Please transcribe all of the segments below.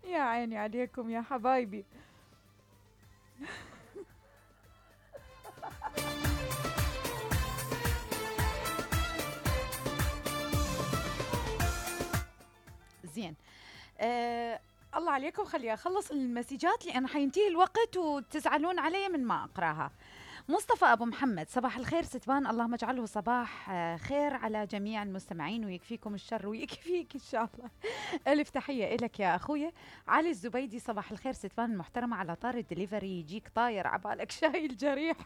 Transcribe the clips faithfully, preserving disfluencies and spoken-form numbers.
يا عيني عليكم يا حبايبي. زين. آه الله عليكم، خلي اخلص المسجات لان حينتهي الوقت وتزعلون علي من ما اقراها. مصطفى ابو محمد، صباح الخير ستبان، اللهم اجعله صباح آه، خير على جميع المستمعين ويكفيكم الشر ويكفيك ان شاء الله. الف تحيه لك يا اخويا. علي الزبيدي، صباح الخير ستبان المحترمه، على طار الدليفري يجيك طاير عبالك شايل جريح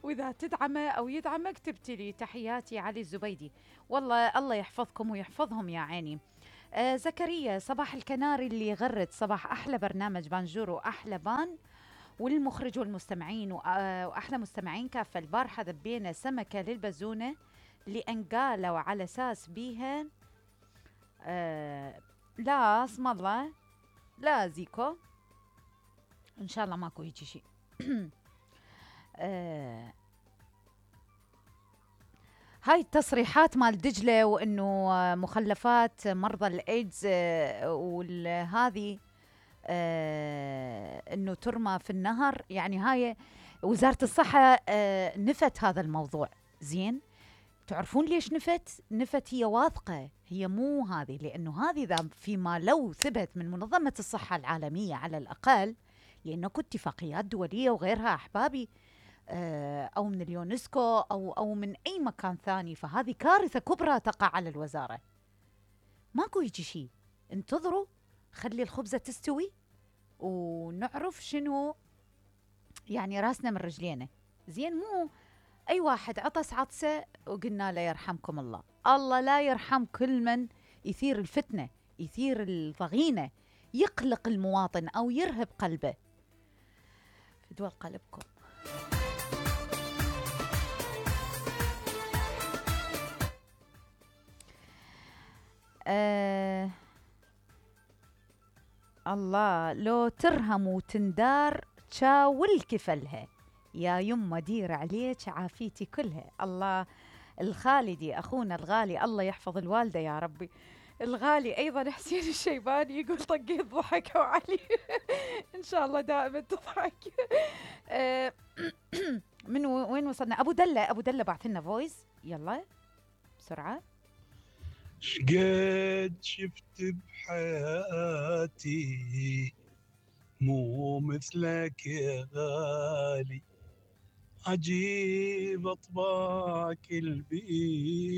واذا تدعمه او يدعمك تبتلي. تحياتي علي الزبيدي، والله الله يحفظكم ويحفظهم يا عيني. آه زكريا، صباح الكناري اللي يغرد، صباح أحلى برنامج بانجور وأحلى بان، والمخرج والمستمعين وأحلى مستمعين كافة. البارحة ذبينا سمكة للبزونة لأن قالوا على أساس بيها آه لا اسم الله، لا زيكو إن شاء الله ماكو يجي شيء. آه هاي التصريحات مال دجلة وانه مخلفات مرضى الايدز وهذه انه ترمى في النهر، يعني هاي وزارة الصحة آه نفت هذا الموضوع. زين، تعرفون ليش نفت؟ نفت هي واثقة، هي مو هذه، لانه هذه اذا فيما لو ثبت من منظمة الصحة العالمية على الاقل، لانه اتفاقيات دولية وغيرها احبابي، أو من اليونسكو أو أو من أي مكان ثاني، فهذه كارثة كبرى تقع على الوزارة. ماكو يجي شيء، انتظروا خلي الخبزة تستوي ونعرف شنو يعني راسنا من رجلينا. زين، مو أي واحد عطس عطسة وقلنا له يرحمكم الله. الله لا يرحم كل من يثير الفتنة، يثير الضغينة، يقلق المواطن أو يرهب قلبه. فدوى قلبكم. آه الله، لو ترهم وتندار تشاول كفلها، يا يمه دير عليك عافيتي كلها. الله، الخالدي أخونا الغالي، الله يحفظ الوالدة يا ربي. الغالي أيضا حسين الشيباني يقول طقيت ضحك وعلي. إن شاء الله دائما تضحك. آه من وين وصلنا؟ أبو دلة، أبو دلة بعث لنا فويس، يلا بسرعة. شقد شفت بحياتي مو مثلك يا غالي، عجيب اطباعك البيك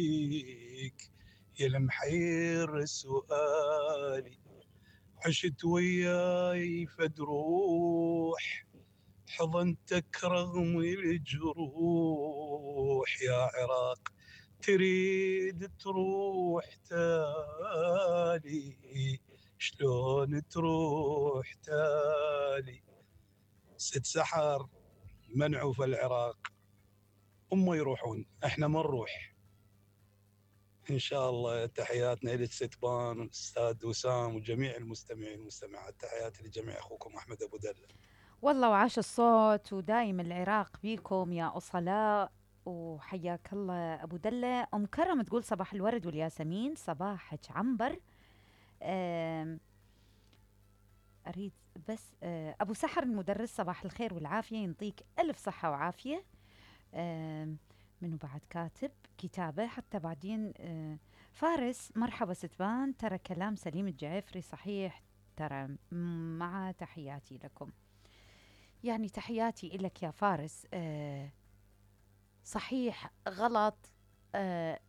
يا المحير سؤالي، عشت وياي فدروح حضنتك رغم الجروح، يا عراق تريد تروح تالي شلون تروح تالي. ست سحر منعوا في العراق، هم يروحون احنا ما نروح ان شاء الله. تحياتنا للستبان والاستاذ وسام وجميع المستمعين والمستمعات، تحياتي لجميع اخوكم احمد ابو دله. والله وعاش الصوت، ودايم العراق بيكم يا أصلاء، وحياك الله أبو دلة. أم كرم تقول صباح الورد والياسمين، صباحك عنبر. أريد بس أبو سحر المدرس، صباح الخير والعافية، ينطيك ألف صحة وعافية. منو بعد كاتب كتابة حتى بعدين؟ فارس، مرحبا ستبان، ترى كلام سليم الجعفري صحيح، ترى مع تحياتي لكم. يعني تحياتي لك يا فارس. آه صحيح غلط، آه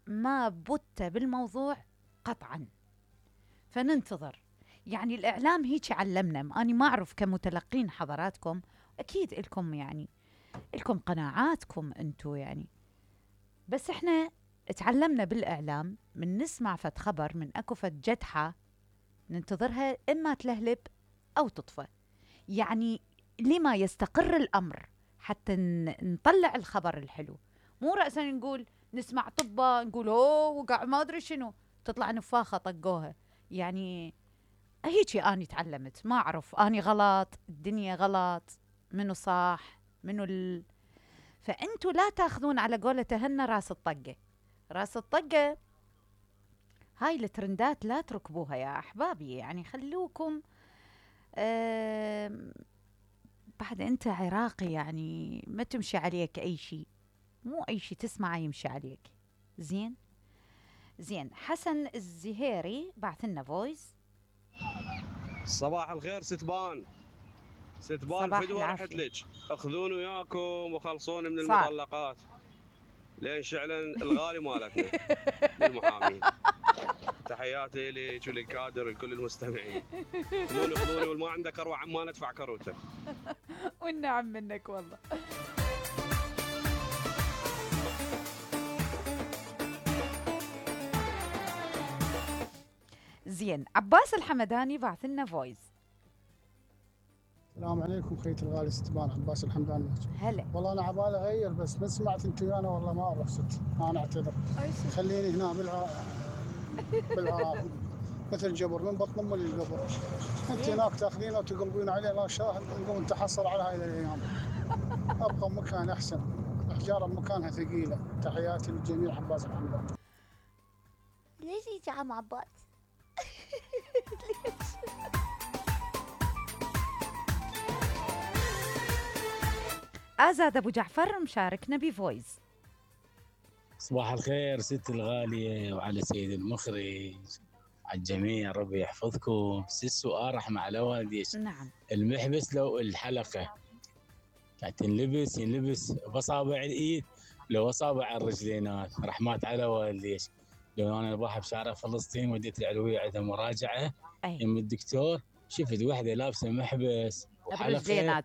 ما بت بالموضوع قطعا، فننتظر. يعني الإعلام هيك علمنا، أنا ما أعرف كمتلقين حضراتكم، أكيد لكم يعني لكم قناعاتكم أنتو يعني، بس إحنا تعلمنا بالإعلام من نسمع فت خبر من أكو فت جدحة ننتظرها إما تلهلب أو تطفى. يعني لما يستقر الأمر حتى نطلع الخبر الحلو، مو رأسا نقول نسمع طبة نقول أوه وقع ما أدري شنو، تطلع نفاخة طقوها. يعني هيجي أني تعلمت، ما أعرف أني غلط، الدنيا غلط، منو صح منو ال... فأنتوا لا تاخذون على قولة هن راس الطقة. راس الطقة هاي الترندات لا تركبوها يا أحبابي، يعني خلوكم آم، بعد أنت عراقي يعني ما تمشي عليك أي شيء، مو أي شيء تسمعه يمشي عليك. زين زين. حسن الزهيري بعث لنا فويس. صباح الخير ستبان، ستبان صباح فدوة رحت العافية. لك، اخذوني وياكم وخلصوني من صار. المطلقات لين شعلا الغالي مالتنا للمحامين. تحياتي لك وللكادر ولكل المستمعين. خذوني خذوني والما عندك اروع عمان ادفع كروته. والنعم منك والله. زين. عباس الحمداني بعث لنا فويس. السلام عليكم خيت الغالي ستبان، عباس الحمداني. هلا. والله انا عبالي اغير بس ما سمعت انت ويانا والله ما اروح ست، انا اعتذر. خليني هنا بالع بالعراق مثل جبر من بطن امي للقبر. انت هناك تاخذينا وتقلبين علينا لا شاهد، نقوم نتحسر على هاي الايام. ابقى بمكان احسن، احجار بمكانها ثقيله. تحياتي للجميع. عباس الحمداني. ليش هيك يا عم عباس؟ آزاد أبو جعفر مشاركنا بفويس. صباح الخير ست الغالية وعلى سيد المخرج، على الجميع ربي يحفظكم. ست سؤال رحمة على والديش. نعم. المحبس لو الحلقة قاعد تنلبس ينلبس بأصابع الإيد لو أصابع الرجلينات، رحمات على والديش. لو أنا البارحة بشارع فلسطين وديت العلوية عندها مراجعة أي. يم الدكتور، شفت وحدة لابسة محبس وحلقة برجليناتها.